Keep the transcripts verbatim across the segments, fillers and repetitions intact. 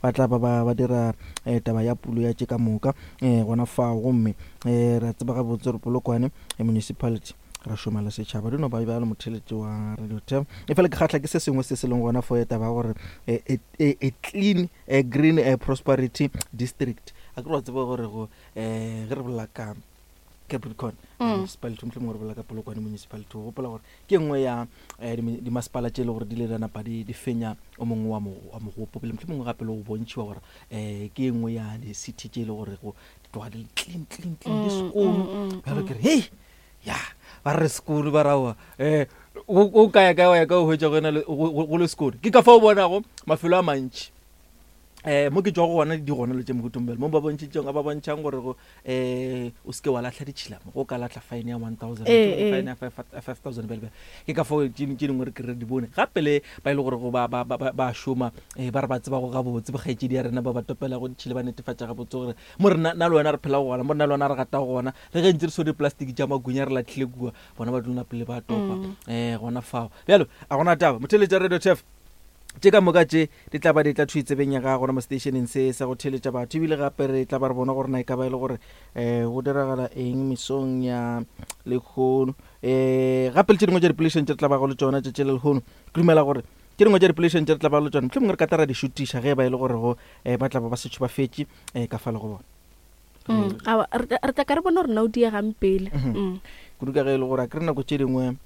ba tla ba ba ba dira um taba ya pulo ya tše ka moka um gona fao. Gomme um re a tseba gabotse gore Polokwane Municipality ra šoma le setšhaba, di no ba bjalo. Motheletši wa Radio Tem, e fela ke kgatlha ke se sengwe se se leng gona fo taba ya gore a clean, a green, a prosperity district. A ke re wa tseba gore go um ge re bolela ka Capricorn Municipality, mohlomongwe re bolela ka Polokwane Municipality, o gopola gore ke nngwe ya dimasepala tše e le gore di ile di napa di fenya o mongwe wa mogopo pele, mohlomongwe gape le go bontšhiwa gore um ke e nngwe ya di-city tše e le gore go di tloga di le clean, clean, clean, di sekolo. Bjalo ke re hei ya ba re sekolo ba raoa um o kaya kae wa ya ka o hwetša go go le sekolo. Ke ka fa o bonago mafelo a mantši um mo ke tswa go gona di gona le tše mohutombele mo ba bontšhitšeng ba bontšhang gore go um o seke wa latlha ditšhila mo, go ka latlha fine ya one thousand, fine ya five thousand bjale. Ke ka fao tše dingwe re kry di bone gape le ba e le gore go ba ba ba ba šoma um ba re ba tseba go gabotse bokgaetšedi ya rena ba ba topela go ditšhila, ba netefatša gabotse gore mo re na le wena re phela go gona, mo re na le wena re gata go gona, le ge ntse re so di-plastic tša magunya re latlhile kua, bona ba dula pele ba topa um gona fao. Bjalo a gona taba motheletša Radio Turf, tše ka moka tše di tla ba di tla thwi tsebeng ya gago gona mo stationeng se sa go theletša batho. Ebile gape re tla ba re bona gore na e ka ba e le gore um go diragala eng mesong ya lehono, um gape le tše dingwe tša dipolešeng tše re tla bago le tšona tše tše le lehono. Ke dumela gore tše dingwe tša dipolešeng tše re tla bago le tšona mohlomongwe re ka tla ra di šutiša ge ba e le gore go um ba tla ba ba setšho ba fetše um ka fa le go bona. Re tla ka re bona gore na o diegang pele kudu, ka ge e le gore a kry nako tše dingwe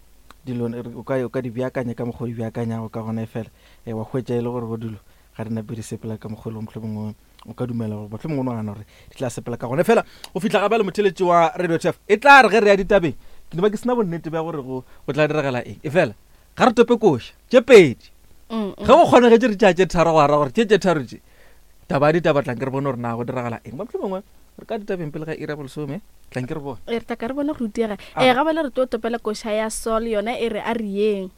dilo o ka o ka di beakanya ka mokgwa o di beakanyago ka gona, e fela wa hwetša e le gore go dilo ga re nape di sepela ka mokgwa e leng mohlomongwe o ka dumela gore mohlomongwe o nagana gore di tla sepela ka gona. Fela go fihla ga bjale motheletši wa Radio Turf, e tla re ge re ya ditabeng ke ne ba ke sena bonnete bja gore go go tla diragala eng, e fela ga re tope koša tše pedi ge go kgonegetše re tšea tše tharo go ara gore tše tše tharo tše taba ya ditaba tlang ke re bone gore na go diragala eng. Ba mohlomongwe re ka ditabeng pele ga iri ya bolesome, tlang ke re bone. Re tla ka re bone go rutega. E ga bale re tlo topela koša ya Sol, yona e re a re yeng.